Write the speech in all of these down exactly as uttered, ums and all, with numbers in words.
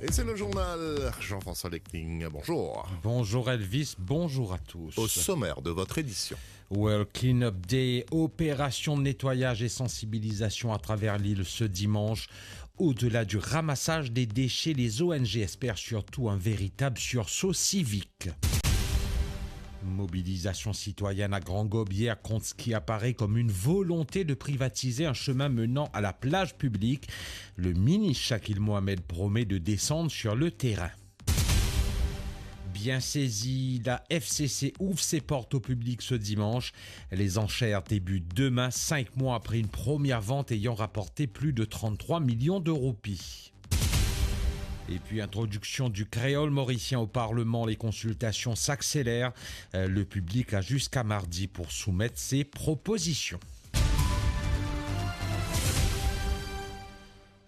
Et c'est le journal Jean-François Lecting. Bonjour. Bonjour Elvis, bonjour à tous. Au sommaire de votre édition. World Cleanup Day, opération de nettoyage et sensibilisation à travers l'île ce dimanche. Au-delà du ramassage des déchets, les O N G espèrent surtout un véritable sursaut civique. Mobilisation citoyenne à Grand Gob hier contre ce qui apparaît comme une volonté de privatiser un chemin menant à la plage publique. Le ministre Shakil Mohamed promet de descendre sur le terrain. Bien saisi, la F C C ouvre ses portes au public ce dimanche. Les enchères débutent demain, cinq mois après une première vente ayant rapporté plus de trente-trois millions de roupies. Et puis, introduction du créole mauricien au Parlement, les consultations s'accélèrent. Euh, le public a jusqu'à mardi pour soumettre ses propositions.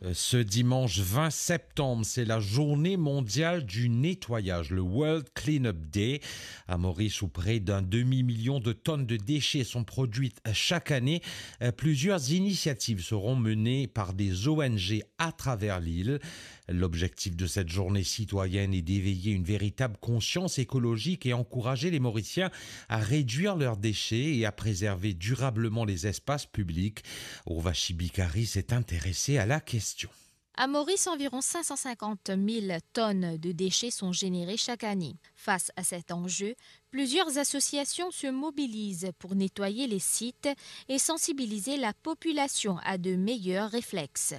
Euh, ce dimanche vingt septembre, c'est la journée mondiale du nettoyage, le World Cleanup Day. À Maurice, où près d'un demi-million de tonnes de déchets sont produites chaque année, euh, plusieurs initiatives seront menées par des O N G à travers l'île. L'objectif de cette journée citoyenne est d'éveiller une véritable conscience écologique et encourager les Mauriciens à réduire leurs déchets et à préserver durablement les espaces publics. Urvashi Bikari s'est intéressée à la question. À Maurice, environ cinq cent cinquante mille tonnes de déchets sont générées chaque année. Face à cet enjeu, plusieurs associations se mobilisent pour nettoyer les sites et sensibiliser la population à de meilleurs réflexes.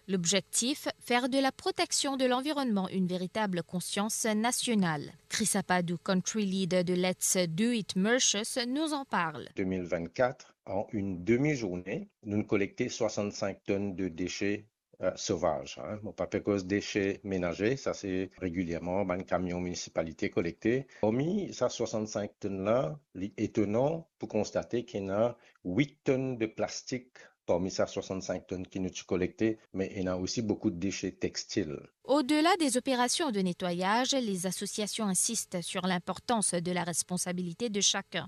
L'objectif, faire de la protection de l'environnement une véritable conscience nationale. Chris Apadou, country leader de Let's Do It Mauritius, nous en parle. Deux mille vingt-quatre, en une demi-journée, nous collectons soixante-cinq tonnes de déchets euh, sauvage, hein. Mo pa pe koz dese menaze, sa se regilierman bann kamion minisipalite kolekte. Parmi sa soixante-cinq tonnes la, li etonan pou konstate ki ena wit tonnes de plastik parmi sa soixante-cinq tonnes ki nou ti kolekte, me ena osi boukou de dese textil. Au-delà des opérations de nettoyage, les associations insistent sur l'importance de la responsabilité de chacun.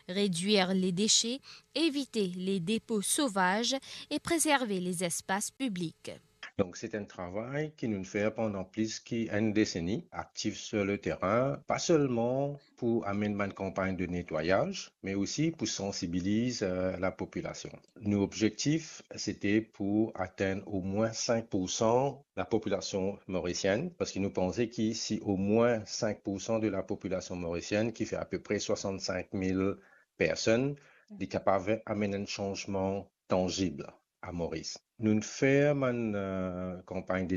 Réduire les déchets, éviter les dépôts sauvages et préserver les espaces publics. Donc, c'est un travail que nous faisons pendant plus qu'une décennie, actifs sur le terrain, pas seulement pour amener une campagne de nettoyage, mais aussi pour sensibiliser euh, la population. Nos objectifs, c'était pour atteindre au moins cinq pour cent la population mauricienne, parce que nous pensons que si au moins cinq pour cent de la population mauricienne, qui fait à peu près soixante-cinq mille personnes, est capable d'amener un changement tangible à Maurice. Nous faisons une euh, campagne de